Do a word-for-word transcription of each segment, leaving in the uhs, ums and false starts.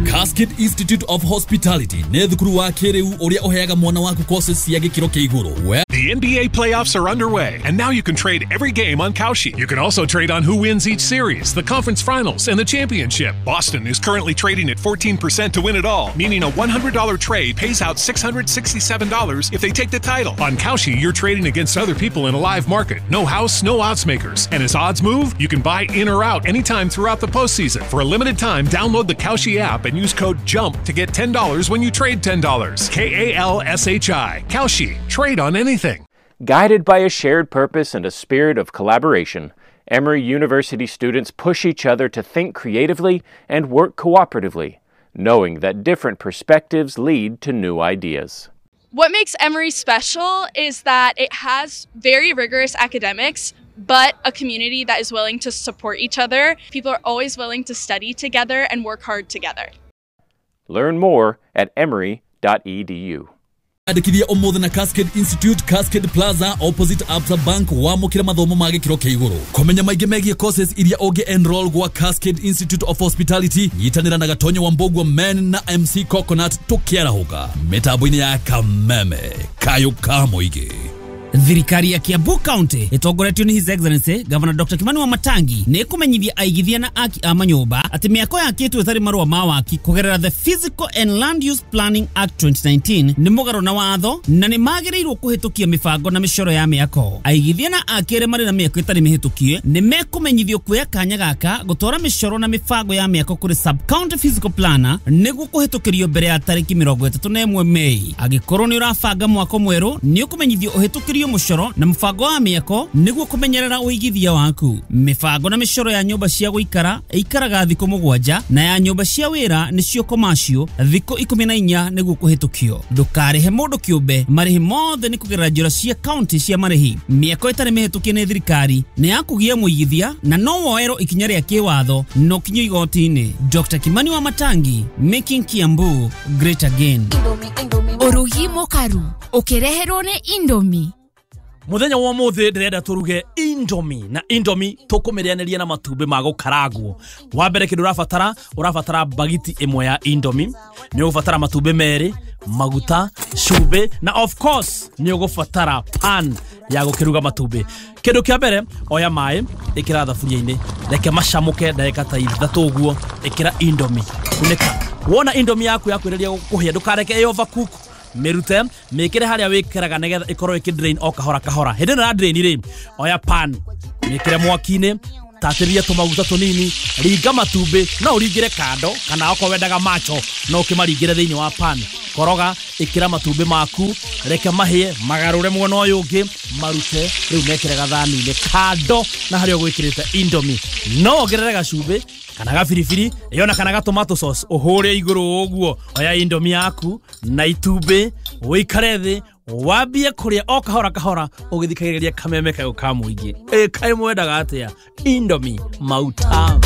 Cascade Institute of Hospitality nĩ thukuru wa kĩrĩu ũrĩa ũheaga mwana waku courses cia gĩkĩro kĩa igũrũ. We The N B A playoffs are underway, and now you can trade every game on Kalshi. You can also trade on who wins each series, the conference finals, and the championship. Boston is currently trading at fourteen percent to win it all, meaning a one hundred dollar trade pays out six hundred sixty-seven dollars if they take the title. On Kalshi, you're trading against other people in a live market. No house, no odds makers. And as odds move, you can buy in or out anytime throughout the postseason. For a limited time, download the Kalshi app and use code JUMP to get ten dollars when you trade ten dollars. K A L S H I. Kalshi. Trade on anything. Guided by a shared purpose and a spirit of collaboration, Emory University students push each other to think creatively and work cooperatively, knowing that different perspectives lead to new ideas. What makes Emory special is that it has very rigorous academics, but a community that is willing to support each other. People are always willing to study together and work hard together. Learn more at emory dot e d u. Andĩkithia ũmũthĩ na Cascade Institute, Cascade Plaza, opposite Absa Bank, wamũkĩre mathomo ma gĩkĩro kĩa igũrũ. Kũmenya maingĩ megiĩ courses iria ũngĩ enroll gwa Cascade Institute of Hospitality, nyitanĩra na Gatonyo wa Mbogua Men na M C Coconut tũkĩarahũka mĩtambo-inĩ ya Kameme Kayũ ka Mũingĩ. Thirikari ya Kiambu County ĩtongoretio nĩ His Excellency Governor Doctor Kimani Wamatangi nĩ ĩkũmenyithia aigithia na aki a manyũmba atĩ mĩako yakĩtwo ĩtarĩ marũa ma waki kũgerera the Physical and Land Use Planning Act twenty nineteen nĩ mũgarũ na watho na nĩ magĩrĩirwo kũhĩtũkia mĩbango na mĩcoro ya mĩako. Aigithia na aki arĩa marĩ na mĩako ĩtarĩ mĩhĩtũkie nĩ mekũmenyithio kuoya kanya gaka gũtwara mĩcoro na mĩbango ya mĩako kũrĩ sub county physical planner nĩguo kũhĩtũkĩrio mbere ya tarĩki mĩrongo ĩtatũ na ĩmwe Mei. Angĩkorwo nĩ ũrabanga mwako mwerũ, nĩ ũkũmenyithio ũhĩtũkĩrio mũcoro na mũbango wa mĩako nĩguo kũmenyerera ũigithia waku. Mĩbango na mĩcoro ya nyũmba cia gũikara ĩikaraga thikũ mũgwanja na ya nyũmba cia wĩra nĩcio commercial thikũ ikũmi na inya nĩguo kũhĩtũkio. Ndũkarĩhe mũndũ kĩũmbe, marĩhi mothe nĩ kũgerera njĩra cia county cia marĩhi. Mĩako ĩtarĩ mĩhĩtũkie nĩ thirikari nĩ ya kũgia mũigithia na no woerwo ikinya rĩa kĩwatho na ũkinyio igoti-inĩ. Doctor Kimani Wamatangi, making Kiambu great again. Ũrugi mũkaru ũkĩreherwo nĩ Indomie. Muthenya wa ũmũthĩ ndĩrenda tũruge Indomie, na Indomie tũkũmĩrĩanĩria na matumbĩ ma gũkarangwo. Wa mbere, kĩndũ ũrabatara ũrabatara bagiti ĩmwe ya Indomie, nĩ ũgũbatara matumbĩ merĩ, maguta, cumbĩ, na of course nĩ ũgũbatara pan ya gũkĩruga matumbĩ. Kĩndũ kĩa mbere, oya maĩ, ĩkĩra thaburia-inĩ, reke macamũke ndagĩka ta ithatũ ũguo, ĩkĩra Indomie, kunĩka. Wona Indomie yaku yakwĩrĩria kũhĩa, ndũkareke ĩ overcook, mĩrute, mĩkĩre harĩa wĩkĩraga nĩgetha ĩkorwo ĩkĩ drain o kahora kahora. Hĩndĩ ĩno ya drain rĩ, oya pan, mĩkĩre mwaki-inĩ, tatĩria tũmaguta tũnini, ringa matumbĩ. No ũringĩre kando kana okorwo wendaga macho no ũkĩmaringĩre thĩinĩ wa pan. Koroga, ĩkĩra matumbĩ maku, reke mahĩe, magarũre mwena ũyũ ũngĩ, marute rĩu, mekĩre gathani-inĩ kando na harĩa ũgwĩkĩrĩte Indomie. No wongerere gacumbĩ kana gabiribiri ĩyo na kana ga tomato sauce ũhũre igũrũ ũguo. Oya Indomie yaku na itumbĩ, ũikare thĩ, wambie kũrĩa o kahora kahora ũgĩthikagĩrĩria Kameme Kayũ ka Mũingĩ. Ĩ kaĩ mwendaga atĩa Indomie mautamu?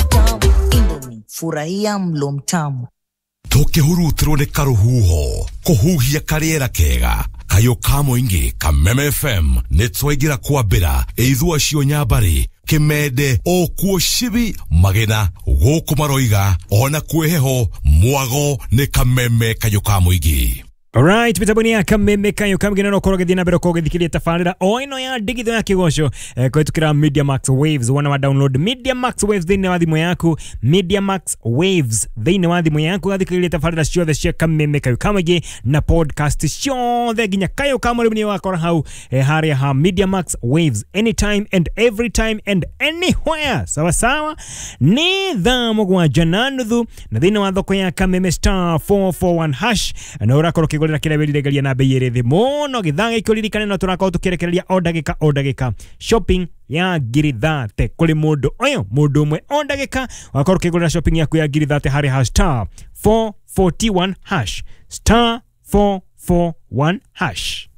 Indomie, furahia mlo mtamu. Tũkĩhurutirwo nĩ karũhuho kũhuhia karĩera kega kayũ ka mũingĩ Kameme F M nĩ twaingĩra kwambĩra ĩithua cio nyambarĩ kĩmende o kuo cibi magena gũkũ maroiga ona kwĩ heho mwago nĩ Kameme kayũ ka mũingĩ. Alright, mitambo-inĩ ya Kameme Kayo kamgena no korwo gĩthiĩ na mbere ũkorwo ũgĩthikĩrĩria tabarĩra o ĩno ya ndigithũ ya kĩgoco eh, kũhĩtũkĩra Media Max Waves. Wona wa download Media Max Waves thĩinĩ wa thimũ yaku, Media Max Waves thĩinĩ wa thimũ yaku, ũgathikĩrĩria tabarĩra ciothe cia Kameme Kayo Kamũingĩ na podcast ciothe nginya Kayo ka Mũrĩmi nĩ wakora hau eh, harĩa ha Media Max Waves, anytime and every time and anywhere. Sawa sawa, nĩ thaa mũgwanja na nuthu na thĩinĩ wa thoko ya Kameme star four four one hash na ũrakorwo ũkĩgũrĩra kĩrĩa wĩriragĩria na bei ĩrĩ thĩ mũno. Gĩthaa gĩkĩ ũririkane no tũrakorwo tũkĩrekereria o ndagĩka o ndagĩka shopping ya ngiri thate kũrĩ mũndũ ũyũ, mũndũ ũmwe o ndagĩka wakorwo ũkĩgũrĩra shopping yaku ya ngiri thate harĩ ha star four forty-one hash, star four forty-one hash.